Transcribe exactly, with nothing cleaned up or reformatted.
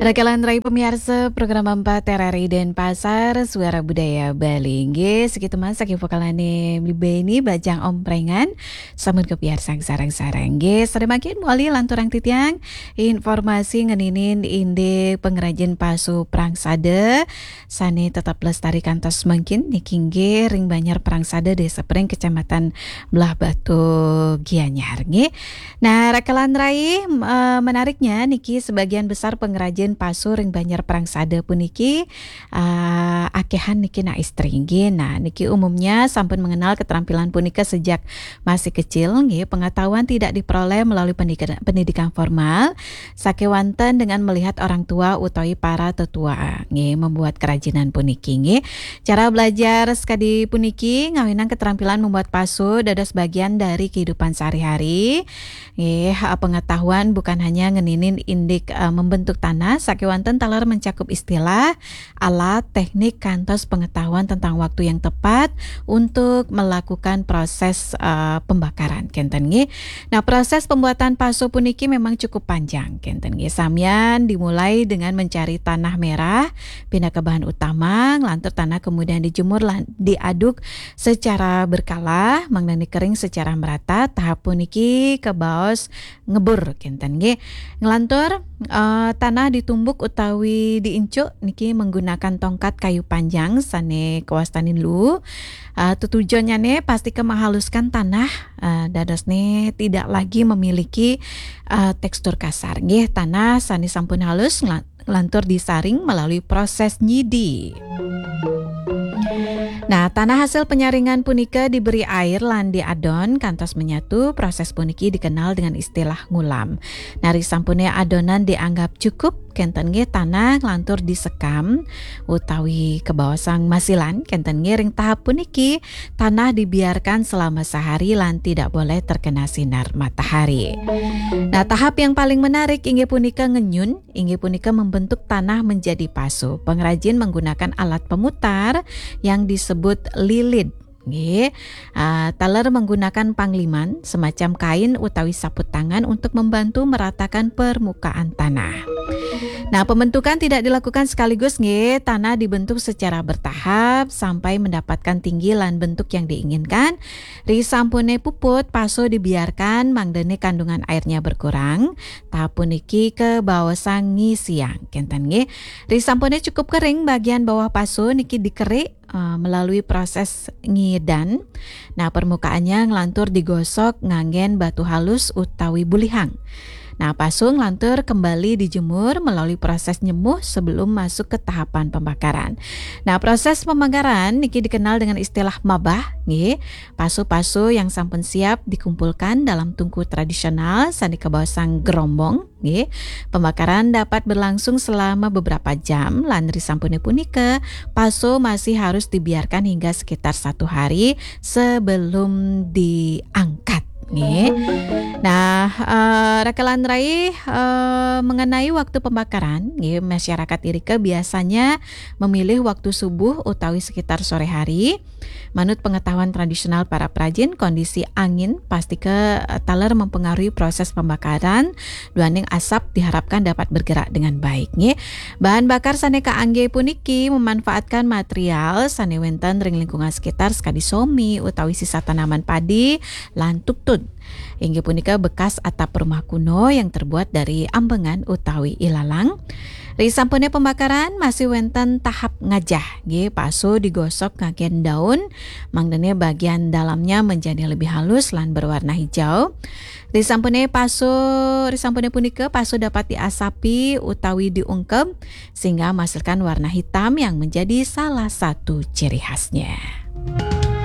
Rakalan rai pamiarsa program empat R R I Denpasar, Suara Budaya Bali. Nggih, sekitu masa ki vokalane Bli Beni, Bajang Omprengan, sampun kapiarsang sareng-sareng. Nggih, sadaya mangkin mawali lanturang titiang informasi ngeninin indik pangrajin pasu prangsada sane tetep lestari kantos mangkin niki nggih ring Banjar Prangsada, Desa Pring, Kecamatan Blahbatuh, Gianyar nggih. Nah, rakalan rai, m-, eh, menariknya niki sebagian besar pangrajin pasu ring Banjar Prangsada puniki, eh, akehan niki anak istri nggih. Nah, niki umumnya sampun mengenal keterampilan punika sejak masih kecil nggih. Pengetahuan tidak diperoleh melalui pendidikan, pendidikan formal, sakewanten dengan melihat orang tua utawi para tetua nggih membuat kerajinan puniki nggih. Cara belajar sekadi puniki ngawinang keterampilan membuat pasu dados bagian dari kehidupan sehari-hari. Nggih, eh, pengetahuan bukan hanya ngeninin indik, eh, membentuk tanah, sakewanten taler mencakup istilah, alat, teknik, kantos pengetahuan tentang waktu yang tepat untuk melakukan proses, eh, pembakaran. Kenten nggih. Nah, proses pembuatan pasu puniki memang cukup panjang. Kenten nggih. Samian dimulai dengan mencari tanah merah pinaka bahan utama, nglantur tanah kemudian dijemur lan diaduk secara berkala, mangdane kering secara merata. Tahap puniki kabaos ngebur, kenten nggih. Nglantur, eh, tanah ditumbuk utawi diincuk niki menggunakan tongkat kayu panjang sane kawastanin luu. Eh, tetujonnyane pastika menghaluskan tanah, eh, dadosne tidak lagi memiliki, eh, tekstur kasar. Nggih, tanah sane sampun halus ngla-, nglantur disaring melalui proses nyidi. Nah, tanah hasil penyaringan punika diberi air lan diadon kantos menyatu. Proses puniki dikenal dengan istilah ngulam. Nah, risampune adonan dianggap cukup, kenten nggih, tanah nglantur disekam utawi kabaosang masilan. Kenten nggih, ring tahap puniki tanah dibiarkan selama sehari lan tidak boleh terkena sinar matahari. Nah, tahap yang paling menarik inggih punika ngenyun, inggih punika membentuk tanah menjadi pasu. Pengrajin menggunakan alat pemutar yang disebut lilid. Nggih. Ah, taler menggunakan pangliman, semacam kain utawi saput tangan untuk membantu meratakan permukaan tanah. Nah, pembentukan tidak dilakukan sekaligus nggih. Tanah dibentuk secara bertahap sampai mendapatkan tinggi lan bentuk yang diinginkan. Risampune puput, pasu dibiarkan mangdane kandungan airnya berkurang. Tahap puniki kabaosang ngisiang, kenten nggih. Risampune cukup kering, bagian bawah pasu niki dikerik, eh, melalui proses ngidan. Nah, permukaannya nglantur digosok nganggen batu halus utawi bulihang. Nah, pasu nglantur kembali dijemur melalui proses nyemuh sebelum masuk ke tahapan pembakaran. Nah, proses pembakaran niki dikenal dengan istilah mabah, nggih. Pasu-pasu yang sampun siap dikumpulkan dalam tungku tradisional sane kabaosang gerombong, nggih. Pembakaran dapat berlangsung selama beberapa jam, lan risampune punika, pasu masih harus dibiarkan hingga sekitar satu hari sebelum diangkat, nggih. Nah, eh, rakalan rai, eh, mengenai waktu pembakaran, nggih, masyarakat irika biasanya memilih waktu subuh utawi sekitar sore hari. Manut pengetahuan tradisional para prajin, kondisi angin pastika, eh, taler mempengaruhi proses pembakaran, duaning asap diharapkan dapat bergerak dengan baik, nggih. Bahan bakar sane kaangge puniki memanfaatkan material sane wenten ring lingkungan sekitar, sakadi somi utawi sisa tanaman padi lan tutut. Inggih punika bekas atap rumah kuno yang terbuat dari ambengan utawi ilalang. Risampune pembakaran, masih wenten tahap ngajah, nggih, pasu digosok nganggen daun, mangdane bagian dalamnya menjadi lebih halus lan berwarna hijau. Risampune pasu, risampune punika, pasu dapat diasapi utawi diungkep sehingga menghasilkan warna hitam yang menjadi salah satu ciri khasnya.